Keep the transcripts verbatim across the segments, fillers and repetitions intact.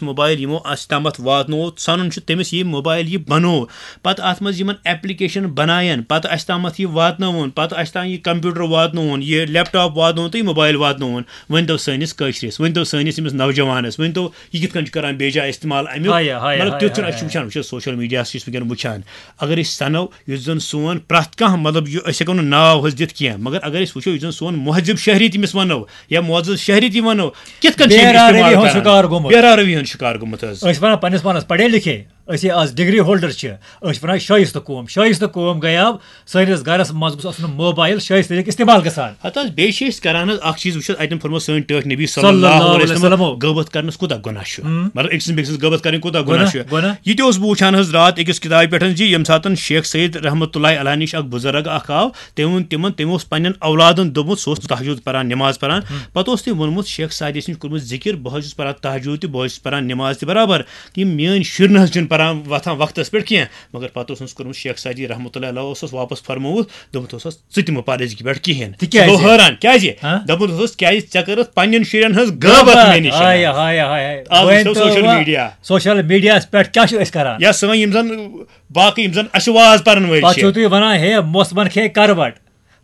Mobile یِمو اَسہِ تامَتھ واتنوو، ژھَنُن چھُ تٔمِس یہِ موبایل یہِ بَنوو، پَتہٕ اَتھ منٛز یِمَن ایپلیکیشن بَنایَن، پَتہٕ اَسہِ تامَتھ یہِ واتنٲوُن، پَتہٕ اَسہِ تام یہِ کمپیوٹر واتنووُن، یہِ لیپ ٹاپ واتنووُن تہٕ یہِ موبایل واتنووُن۔ ؤنۍ تو سٲنِس کٲشرِس، ؤنۍ تو سٲنِس ییٚمِس نوجوانَس، ؤنۍ تو یہِ کِتھ کٔنۍ چھُ کران بیجا استعمال اَمیُک؟ ہایا، ہایا، مطلب، ہایا، تیُتھ چھُنہٕ، ہایا، أسۍ چھِ ہایا۔ وٕچھان، وٕچھ حظ، سوشل میڈیاہَس چھِ أسۍ وٕنکیٚن وٕچھان۔ اگر أسۍ سَنو، یُس زَن سون پرٛٮ۪تھ کانٛہہ، مطلب، یہِ، أسۍ ہٮ۪کو نہٕ ناو حظ دِتھ کینٛہہ، مگر اگر أسۍ وٕچھو، یُس زَن سون مُہذِب شہری تٔمِس وَنو، یا معزز شہری تہِ وَنو، کِتھ کٔنۍ چھِ أمِس بے راروی استعمال ہُنٛد کران؟ شکار گوٚمُت۔ بے راروی ہُنٛد شکار گوٚمُت حظ۔ أسۍ وَنان پنٛنِس پانَس پَڑھے لِکھے، أسۍ ہے آز ڈگری ہولڈر چھِ، أسۍ چھِ وَنان شٲیِستہٕ قوم، شٲیِستہٕ قوم گٔیاو، سٲنِس گَرَس منٛز گوٚژھ آسُن موبایل شٲیِستہٕ طریٖقہٕ استعمال گژھان۔ ہَتہٕ حظ، بیٚیہِ چھِ أسۍ کران حظ اَکھ چیٖز، وٕچھ حظ، اَتٮ۪ن فرموو سٲنۍ ٹٲٹھۍ نبی صلی صلی اللہ اللہ علیہ علیہ وسلم، وسلم۔ غٲبت کرنَس کوٗتاہ گۄناہ چھُ۔ ہُم۔ مطلب، أکۍ سٕنٛدِ بیٚکہِ سٕنٛز غٲبت کَرٕنۍ کوٗتاہ گۄناہ گۄناہ، چھُ۔ گۄناہ۔ یہِ تہِ اوسُس بہٕ وٕچھان حظ راتھ أکِس کِتابہِ پٮ۪ٹھ حظ، زِ ییٚمہِ ساتَن شیخ سید رحمتہ اللہ علیہ نِش اَکھ بُزرگ اَکھ آو، تٔمۍ ووٚن تِمن، تٔمۍ اوس پننٮ۪ن اولادن دوٚپمُت، سُہ اوس تہجد پران، نٮ۪ماز پران۔ ہم۔ پتہٕ اوس تٔمۍ ووٚنمُت، شیخ سعدی سٕنٛدِ کوٚرمُت ذِکِر، بہٕ حظ چھُس پران تہجد تہِ، بہٕ حظ چھُس پران نٮ۪ماز تہِ برابر۔ یِم میٲنۍ شُرۍ نہ حظ چھِنہٕ پران، وۄتھان وقتس پٮ۪ٹھ کینٛہہ۔ مگر پتہٕ اوس أمِس کوٚرمُت، شیخ سعدی رحمتہ اللہ علیہ اوسُس واپس فرمووُت، دوٚپمُت اوسس، "ژٕ تہِ مہٕ پر أزکہِ پٮ۪ٹھ کِہینۍ۔" تِکیٛازِ؟ سُہ گوٚو حٲران، کیٛازِ؟ ہاں؟ دوٚپمُت اوسس، "کیٛازِ ژےٚ کٔرٕتھ پننٮ۪ن شُرٮ۪ن ہٕنٛز غٲبت مےٚ نِش؟" ہاے، ہاے، ہاے۔ آز وٕچھتو وۄنۍ تو سوشل وۄنۍ میڈیا۔ سوشل میڈیاہس پٮ۪ٹھ کیٛاہ چھِ أسۍ کران؟ یا سٲنۍ یِم زن باقٕے یِم زن اَسہِ واز پرن وٲلۍ پتہٕ چھِ۔ چھِو تُہۍ ونان، ہے، موسمن کھے کروٹ،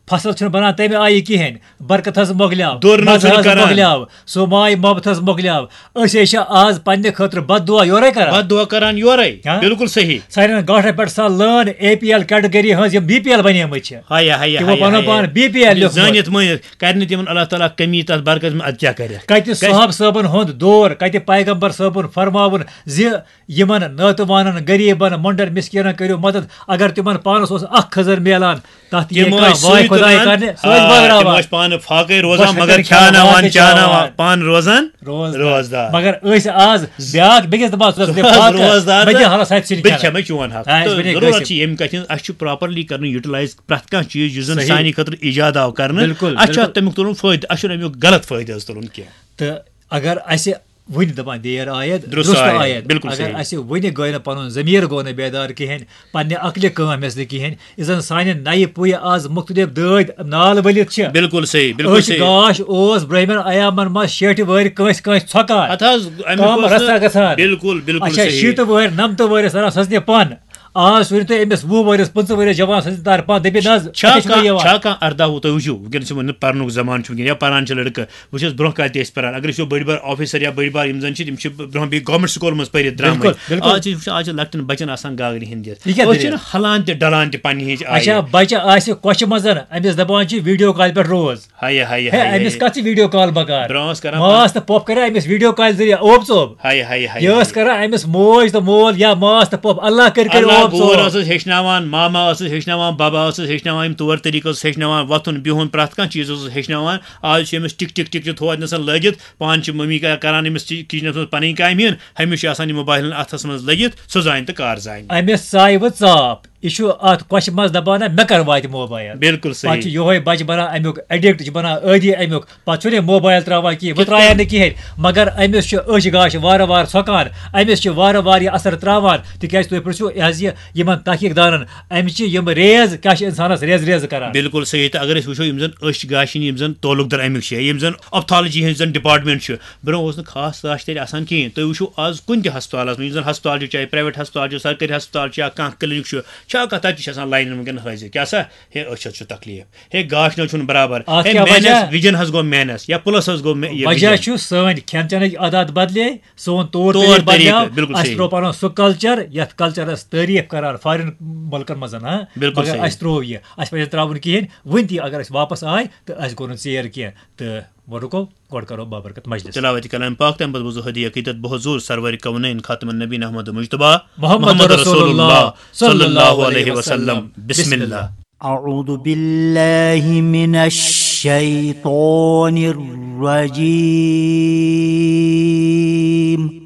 فصل چھُنہٕ بنان تمہِ آیہِ کِہینۍ، برکت حظ مۄکلیو، دوٚر نہٕ مزٕ حظ چھُنہٕ کران۔ مۄکلیو، سُہ ماے محبت حظ مۄکلیو۔ أسۍ ہے چھِ آز پننہِ خٲطرٕ بد دعا یورے کران۔ بد دعا کران یورے۔ ہاں؟ بالکل صحیح۔ سانٮ۪ن گاٹھن پٮ۪ٹھ سا لٲن اے پی ایل کیٹگری ہٕنٛز، یِم بی پی ایل بنے مٕتۍ چھِ۔ ہایا، ہایا، تِمو ہایا، پنُن ہایا۔ پان بی پی ایل لیوٚکھمُت۔ زٲنِتھ مٲنِتھ کرِ نہٕ تِمن اللہ تعالیٰ کمی تتھ برکت منٛز، ادٕ کیٛاہ کرِ؟ کتہِ کتہِ؟ صحاب صٲبن ہُنٛد دور، کتہِ پیغمبر صٲبُن فرماوُن زِ یِمن ناتوانن، غریبن، مۄنڈن، مسکینن کٔرِو مدد۔ اگر تِمن پانس اوس اکھ خٔزٕر میلان، تتھ یی تِم کانٛہہ ٲسۍ واے سُے خداے تُلان، کرنہِ، سُہ ٲسۍ آ، بٲگراوان۔ تِم ٲسۍ پانہٕ فاقے روزان، بۄچھِ مگر کَتٮ۪ن کھیاناوان، کھیاناوان، چاناوان، چاناوان۔ پانہٕ روزان روزدار۔ روزدار۔ مگر أسۍ آز بیٛاکھ بیٚکِس دپان، "ژٕ ٲس مےٚ ژٕ ٲس فاقہٕ، روزدار مےٚ دِ تہٕ حالس ہتہِ سِنۍ بہٕ کھٮ۪نہٕ۔" کھٮ۪مہٕ چون حق۔ آ، أسۍ تہٕ بنے ضروٗرت گٔژھِتھ۔ چھِ ییٚمہِ کتھِ ہٕنٛز، اَسہِ چھُ properly کرُن utilize پرٛٮ۪تھ کانٛہہ چیٖز یُس زن صحیح۔ سانہِ خٲطرٕ ایجاد آو کرنہٕ، بِلکُل، اَسہِ چھُ بِلکُل۔ اَتھ تمیُک تُلُن فٲیدٕ، اَسہِ چھُنہٕ امیُک غلط فٲیدٕ حظ تُلُن کینٛہہ۔ تہٕ اگر اسہِ وُنہِ دپان دیر آیت، درست درست آیت، آیت۔ بِلکُل اگر صحیح۔ اسہِ وُنہِ گٔے نہٕ پنُن ضمیٖر گوٚو نہٕ بیدار کِہیٖنۍ، پننہِ عقلہِ کٲم ہٮ۪س نہٕ کِہیٖنۍ، یُس زن سانہِ نَیہِ پُیہِ آز مُختٔلِف دٲدۍ نال ؤلِتھ چھِ۔ بِلکُل صحیح، بِلکُل أچھ صحیح۔ گاش اوس برٛہمٮ۪ن ایامن منٛز شیٹھِ وٲرۍ کٲنٛسہِ کٲنٛسہِ ژھۄکان۔ ہتہٕ حظ، امیُک کم اوس نہٕ رژھا گژھان۔ بِلکُل، بِلکُل اچھا، صحیح۔ شیٖتہٕ وٲرۍ، نمتہٕ وٲرۍ ٲسۍ اران سٕژنہِ پن۔ آز ؤنِو تُہۍ أمِس وُہ ؤرِس، پٕنٛژٕہ ؤرِس جوان سٕنٛز دار پانہٕ دٔپِتھ نہ حظ، چھا اَتھے چھُنہٕ کانٛہہ، یِوان۔ چھا کانٛہہ ارداہ وُہ، تُہۍ وٕچھِو، وٕنکیٚنَس چھِ وۄنۍ پَرنُک زمانہٕ چھُ وٕنکیٚن، یا پَران چھِ لٔڑکہٕ، وٕچھ حظ برونٛہہ کالہِ تہِ ٲسۍ پَران، اگر أسۍ وٕچھو بٔڑۍ بار آفیسر یا بٔڑۍ بار یِم زَن چھِ، تِم چھِ برونٛہہ بیٚیہِ گورمنٹ سکوٗلَن منٛز پٔرِتھ درٛامٕتۍ۔ بِلکُل، بِلکُل۔ آز چھِ وٕچھان، آز چھِ لۄکٹٮ۪ن بَچَن آسان گاگرِ ہِنٛدِس۔ یہِ کیٛاہ أسۍ دٔلیٖل؟ چھِنہٕ ہَلان تہِ ڈَلان تہِ پنٛنہِ ہِنٛز اچھا، آیہِ۔ بَچہٕ آسہِ کۄچھِ منٛز، أمِس دَپان چھِ ویٖڈیو کالہِ پٮ۪ٹھ روز۔ ہایے، ہایے، ہے، ہایے، أمِس ہایے۔ کَتھ چھِ ویٖڈیو کال بکار؟ برونٛہہ ٲس کران ماس پانہٕ تہٕ پۄپھ کَرے أمِس ویٖڈیو کالہِ ذٔریعہٕ اوپ ژوپ۔ ہایے، ہایے، ہایے، یہِ ٲس ہایے۔ کران أمِس موج تہٕ مول یا ماس تہٕ پۄپھ، اللہ کٔرۍ کٔرۍ اللہ اوپ گور ژوپ۔ ٲسٕس ہیٚچھناوان، ماما ٲسٕس ہیٚچھناوان، بابا ٲسٕس ہیٚچھناوان، یِم طور طریٖقہٕ ٲسٕس ہیٚچھناوان، وۄتھُن بِہُن، پرٛٮ۪تھ کانٛہہ چیٖز ٲسٕس ہیٚچھناوان۔ آز چھِ أمِس ٹِک ٹِک ٹِک ٹِک تھوٚو اَتہِ نَسَن لٲگِتھ، پانہٕ چھِ مٔمی کَران أمِس ٹی-، کِچنَس منٛز پَنٕنۍ کامہِ ہِن، ہمیشہِ چھُ آسان یہِ موبایل ہَن اَتھَس منٛز لٔگِتھ، سُہ زانہِ تہٕ کار زانہِ۔ أمِس ژاے وۄنۍ ژاپ۔ یہِ چھُ اَتھ کۄچھِ منٛز دَپان، "نہ، مےٚ کَر واتہِ موبایل؟" بِلکُل صحیح۔ پَتہٕ چھُ یِہوٚے بَچہٕ بَنان اَمیُک ایڈِکٹ، چھُ بَنان عٲدی اَمیُک۔ پَتہٕ چھُنہٕ یہِ موبایل ترٛاوان کِہیٖنۍ، وۄنۍ کِتھ ترٛایَن کٔنۍ؟ نہٕ کِہیٖنۍ۔ مگر أمِس چھُ أچھ گاش وارٕ وارٕ ژھۄکان، أمِس چھُ وارٕ وارٕ یہِ اثر ترٛاوان۔ تِکیٛازِ تُہۍ پرٛژھِو یہِ حظ یہِ یِمَن تحقیٖق دانَن، أمِس چھِ یِم ریز، کیٛاہ چھِ اِنسانَس ریز ریز کَران؟ بِلکُل صحیح۔ تہٕ اگر أسۍ وٕچھو، یِم زَن أچھ گاشِنۍ، یِم زَن تعلق دار اَمیُک چھِ، یِم زَن آپتھالجی ہٕنٛز زَن ڈپارٹمنٹ چھُ، برونٛہہ اوس نہٕ خاص گاش تیٚلہِ آسان کِہیٖنۍ۔ تُہۍ وٕچھِو آز کُنہِ تہِ ہسپتالَس منٛز، یُس زَن ہسپتال چھُ، چاہے پرٛایویٹ ہسپتال چھُ، سرکٲرۍ ہسپتال چھُ یا کانٛہہ کِلنِک چھُ، چھا کانٛہہ تَتہِ تہِ چھِ آسان لاینَن وٕنکیٚن حٲضِر۔ کیٛاہ سا؟ ہے، أچھ حظ چھُ تکلیٖف۔ ہے، گاش نہ چھُنہٕ برابر۔ اَتھ ہے، کیٛاہ مینَس، وجہ؟ وِجن حظ گوٚو مینَس یا پُلَس حظ گوٚو مے-، یہِ وجہ وِجن۔ چھُ سٲنۍ کھٮ۪ن چٮ۪نٕکۍ عادات بدلے، سون طور طور طریٖقہٕ طریٖقہٕ، بدلیو، بِلکُل اَسہِ صحیح۔ ترٛوو پَنُن سُہ کلچر یَتھ کلچرَس تعریٖف کران فارِن مُلکَن منٛز، ہاں؟ بِلکُل مگر صحیح۔ اَسہِ ترٛوو یہِ، اَسہِ پَزِ نہٕ ترٛاوُن کِہیٖنۍ۔ وٕنہِ تہِ اگر أسۍ واپس آے تہٕ اَسہِ گوٚو نہٕ ژیر کینٛہہ۔ تہٕ وۄنۍ رُکو، گۄڈٕ کرو بابرکت مجلس۔ تلاوت کلام پاک، تمہِ پتہٕ بوزو ہدیہ عقیدت بہت زور سرور کونین خاتم النبی احمد مجتبیٰ محمد محمد رسول رسول اللہ اللہ صلی اللہ صلی اللہ علیہ علیہ وسلم۔ وسلم۔ بسم بسم اللہ۔ اللہ۔ أعوذ بالله من الشيطان الرجيم۔